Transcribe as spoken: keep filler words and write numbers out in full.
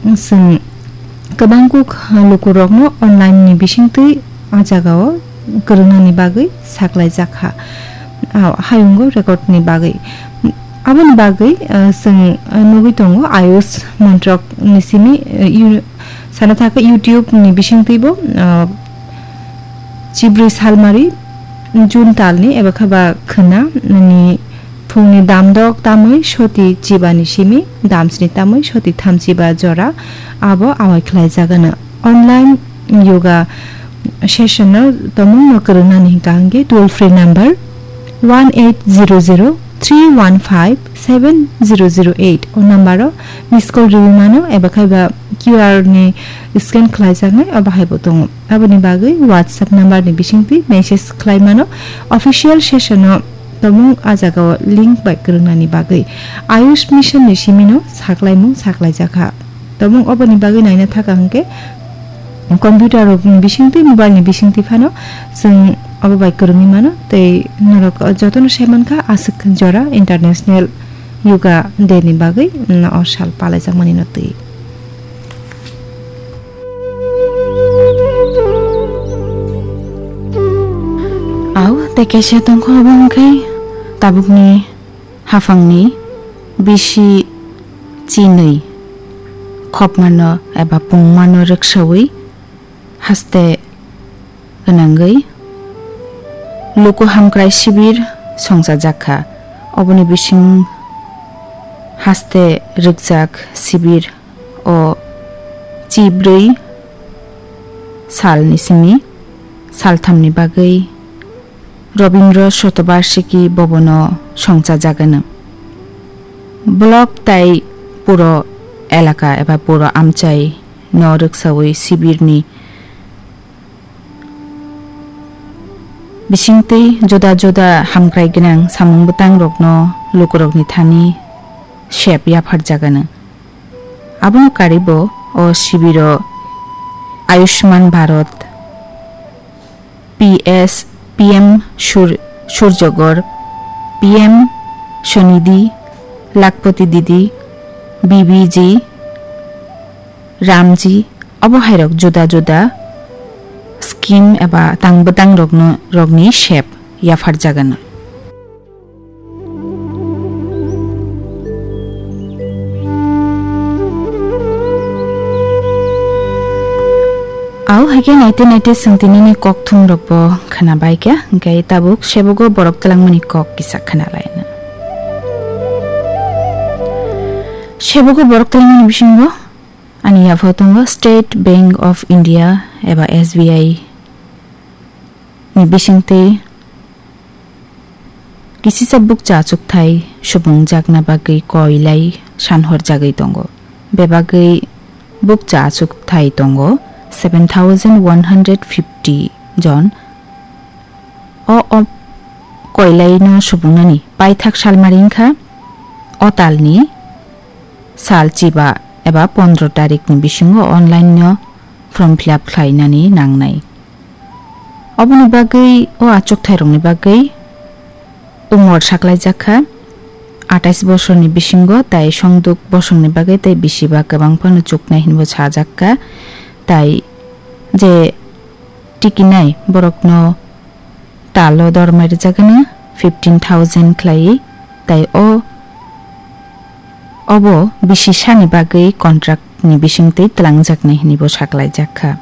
Chwng kwbang kuk lukurokno online ni bisingtwi a jagao kwrwngnani bagwi saklaijak kha, a hayungo record ni bagwi. Aboni bagwi, ah, chwng, ah, nugwi tongo Ayush Montrok ni simi, ah, yu-, sana thaka YouTube ni bisingtwibo, ah, chibrwi salmari June talni eba khe ba khwna ni phungni damdok tamwi soti chibani simi damsni tamwi soti thamchiba jora abo awai khlaijagano. Online yoga session no tomungno kwrwngnani hwnkha hwnkhe toll free number one eight zero zero three one five seven zero zero eight o number o miss call riwi mano eba khe ba Q R ni scan khlaijaknai o bahai bo tongo. Aboni bagwi WhatsApp number ni bisingtwi message khlai mano. Official session o tomung a jagao link bai kwrwngnani bagwi Ayush Mission ni simino saklaimung saklaijakha. Tomung oboni bagwi naina thaka hwnkhe computer rok ni bisingtwi, mobile ni bisingtwi phano chwng obo bai kwrwngwi mano tei norok jotono sai mankha aswk jora International Yoga Day ni bagwi, mm, o sal palaijakmani no twi. Au, tei kaisa tongkha obo wngkhe tabukni haphangni bisi chinwi khopmano eba pungmano rwksawi haste gwnangwi luku hamkrai sibir songchajak kha. Oboni bising haste rwkjak sibir o chibrwi salni simi salthamni bagwi Robindra Shatabarshiki Bhavan-o songchajagano. Block tai puro elaka eba puro amchai no rwksawi sibirni bisingtwi juda juda hamkrai gwnang samung bwtangrokno lukurokni thani sep yapharjagano. Abono karibo o sibiro Ayushman Bharat, P S, P M Sur-, Surjagor, P M Swanidhi, Lakhpati Didi, B B G, Ramji, obo hairok juda juda scheme eba tang bwtang rokno, rokni sep yapharjagano. Au haikhe naite naite chwng tinini kokthum rokbo khwnabaikha, hwnkhe tabuk sebogo borok twlangmani kok kisa khwnalaina. Sebogo borok twlangmani bisingo ani yaphao tongo State Bank of India eba S B I ni bisingtwi kisisa bukcha achukthai subungjakna bagwi koilai sanhorjagwi tongo. Bebagwi bukcha achukthai tongo seven thousand one hundred fifty jon. O, o koilaino subungnani paithak salmari wngkha o talni sal chiba eba pondro tarikni bisingo online-no form fill up khlainani nangnai. Oboni bagwi o achukthairokni bagwi umor saklaijak kha atais bosorni bisingo, tai songduk bosongni bagwi tei bisiba kwbang phano chuknai hinwi bo sajak kha. Tai je tikinai borokno talo dormai rwjagano fifteen thousand khlaiwi, tai o, obo bisi sani bagwi contract ni bisingtwi twlangjaknai hinwi bo saklaijak kha.